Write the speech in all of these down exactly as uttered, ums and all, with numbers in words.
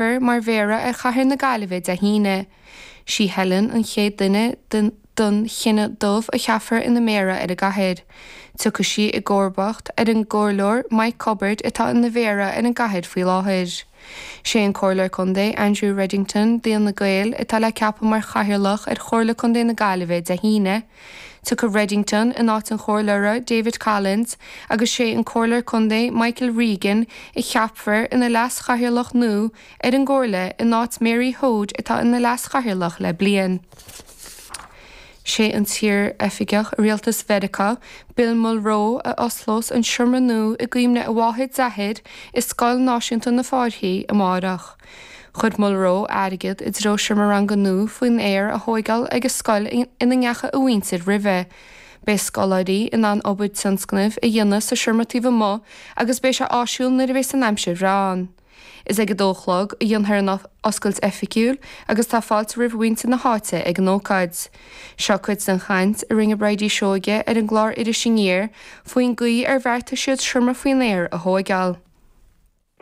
mar Mhéara ar chathair na Gaillimhe Dé hAoine. Sí Helen an chéad duine den den chine dubh a cheapfar ina méara ar an gcathair. Tiocfaidh sí i gcomharbacht ar an gcomhairleoir Mike Cubbard atá ina mhéara ar an gcathair faoi láthair. Sé an Comhairleoir Contae Andrew Reddington d'Fhine Gael atá le ceapadh mar chathaoirleach ar Chomhairle Contae na Gaillimhe Dé hAoine. Tiocfaidh Reddington in áit an chomhairleora David Collins agus sé an Comhairleoir Contae Michael Regan a cheapfar ina leas-chathaoirleach nua ar an gcomhairle in áit Mary Hoade atá ina leas-chathaoirleach le bliain. Sé an t-iar-oifigeach rialtais Mheiriceá, Bill Mulroe a osclós an seomra nua i gcuimhne a mháthair i Scoil Náisiúnta na Fáirche amárach. Chuir Mulroe airgead i dtreo seomra ranga nua faoin aer a thógáil ag a scoil ina ndeachaigh a mhuintir roimhe. Beidh scoláirí in ann obair tionscnaimh a dhéanamh sa seomra taobh amuigh agus beidh sé áisiúil nuair a bheas an aimsir bhreá ann. Is ag a dó a chlog a dhéanfar an oscailt oifigiúil agus tá fáilte roimh mhuintir na háite ag an ócáid. Seo cuid den chaint a rinne Bridie Seoige ar an gclár Iris Aniar faoin gcaoi ar bheartaigh siad seomra faoin aer a thógáil.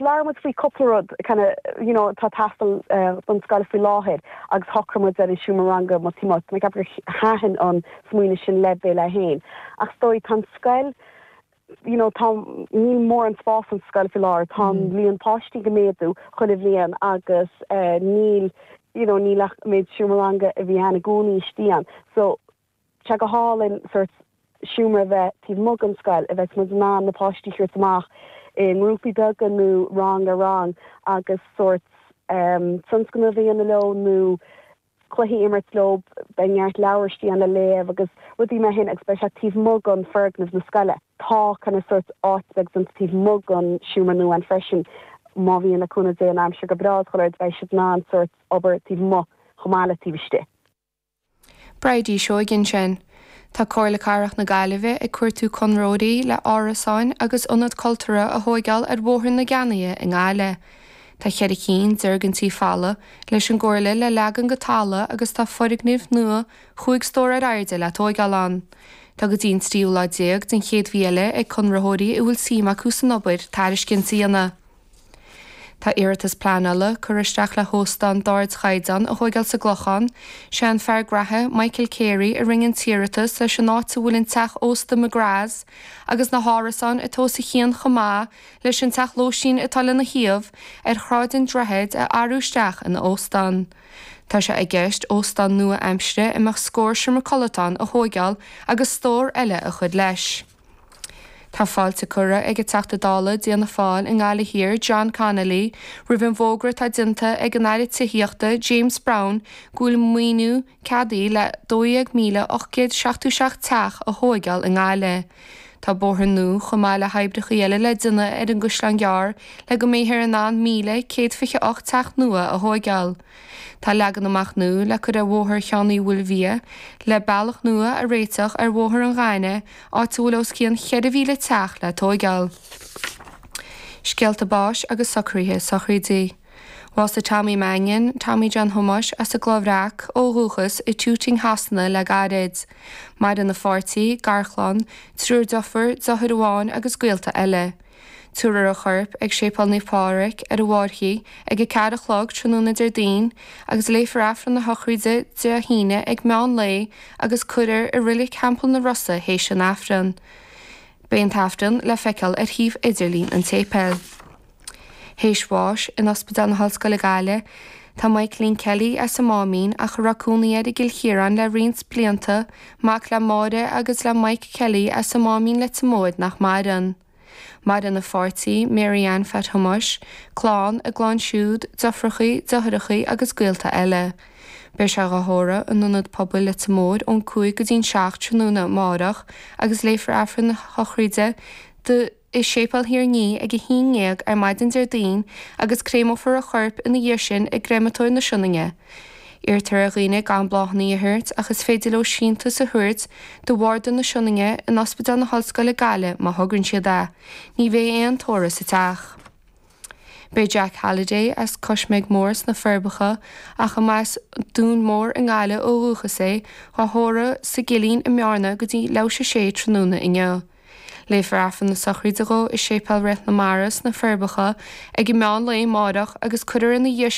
Labhair muid faoi cúpla rud kind of, you know, tá teastáil uh, don scoil faoi láthair agus shocraigh muid ar an seomra ranga má tí mé gur thaitin an smaoineamh sin le Bill é féin. Ach stoi tá scoil you know, tá níl mórán spás an scoil faoi láthair tá mm. líon páistí ag méadú chuile bhliain agus uh, níl you know, níl ach méid seomra ranga a bhí ann i gcónaí istigh ann. So sé go hálainn sort seomra bheith taobh amuigh den scoil a bheith muid ná na páistí chuir amach i ngrúpaí beaga nó rang ar rang agus sort um, tionscnamh a dhéanamh leo nó cluichí imirt leo beidh neart leabhar istigh ann le léamh agus rudaí mar sin agus beidh sé taobh amuigh den foirgneamh na scoile. Tá kind of sort áit ag an taobh amuigh den seomra nua ann freisin má bhíonn le cúnamh Dé an aimsir go breá chuir beidh siad in ann sort obair taobh amuigh chomh maith le taobh istigh. Bridie Seoige sin. Tá Comhairle Cathrach na Gaillimhe ag cuartú conraitheoirí le árasáin agus ionad cultúrtha a thógáil ar Bhóthar na Ceannaí i nGaillimh. Tá ceithre cinn d'fhoirgintí folamh leis an gcomhairle le leagan go talamh agus tá foirgnimh nua chúig stór ar airde le tógáil ann. Tá go dtí an tríú lá déag den chéad mhí eile ag conraitheoirí a bhfuil suim acu san obair tairiscint a dhéanamh. Tá iarratas pleanála curtha isteach le hóstán d'ardchaighdeán a thógáil sa gClochán, sé an fear graithe Michael Carey a rinne an t-iarratas leis an áit a bhfuil an teach ósta McGrath's agus na hárasáin atá os a chionn chomh maith leis an teach lóistín atá lena thaobh ar Shráid an Droichid a athrú isteach ina óstán. Tá sé i gceist óstán nua-aimseartha a mbeadh scór seomra codlata ann a thógáil agus stór eile a chur leis. Tá fáilte curtha ag an Teachta Dála d'Fhianna Fáil i nGaillimh Thiar John Connolly roimh an bhfógra atá déanta ag an Aire Tithíochta James Browne go bhfuil maoiniú ceadaithe le dó dhéag míle ocht gcéad seachtó seacht teach a thógáil i nGaillimh. Tá bóthar nua chomh maith le hoibreacha eile le déanamh ar an gCaisleán Gearr le go mbeifear in ann míle céad fiche ocht teach nua a thógáil. Tá leagan amach nua le cur ar Bhóthar Sheáin Uí Mhaoilmhia le bealach nua a réiteach ar Bhóthar an Ghainimh áit a bhfuil os cionn ceithre mhíle teach le tógáil. Scéalta báis agus socruithe sochraide. Bhásaigh Tommy Mannion, Tommy John Thomáis as an gCloich Bhreac ó dhúchas i Tooting Shasana le gairid. Maireann a pháirtí, garchlann, triúr deirfiúr, deartháir amháin agus gaolta eile. Tabharfar a chorp ag Séipéal Naomh Pádraig ar an bhFáirche ag a ceathair a chlog tráthnóna Déardaoin agus léifear Aifreann na sochraide Dé hAoine ag meán lae agus cuirfear i Reilig Theampall na Rosa théis an Aifreann. Beidh an t-aifreann le feiceáil ar shuíomh idirlín an tséipéil. Théis bháis in Ospidéal na hOllscoile Gaillimh, Tá Michaelín Kelly as an Máimín ach a raibh cónaí air i gCill Chiaráin le roinnt blianta, mac le Máire agus le Mike Kelly as an Máimín Leitir Móir nach maireann. Maireann a pháirtí Mary Ann Phat Thomáis, clann a gclann siúd, deirfiúracha, deartháireacha agus gaolta eile. Beidh sé á thórramh in ionad pobail Leitir Móir ón cúig go dtí'n seacht tráthnóna amárach agus léifear Aifreann na sochraide do i Séipéal Thír an Fhia ag a haon déag ar maidin Déardaoin agus créamófar a chorp ina dhiaidh sin i gcreamatóir na Sionainne. Iarrtar ar dhaoine gan bláthanna a thabhairt ach is féidir leo síntiús a thabhairt do Bharda na Sionainne in Ospidéal na hOllscoile Gaillimh má thograíonn siad é. Ní bheidh aon tórramh sa teach. Beidh Jack Halliday as Coismeig Mór sna Forbacha ach as Dún Mór i nGaillimh ó dhúchas é á thórramh sa gCillín i mBearna go dtí leathuair théis a sé tráthnóna inniu. Léifear Aifreann na sochraide dó i Séipéal Rith na Mara sna Forbacha ag an meán lae amárach agus cuirfear ina dhiaidh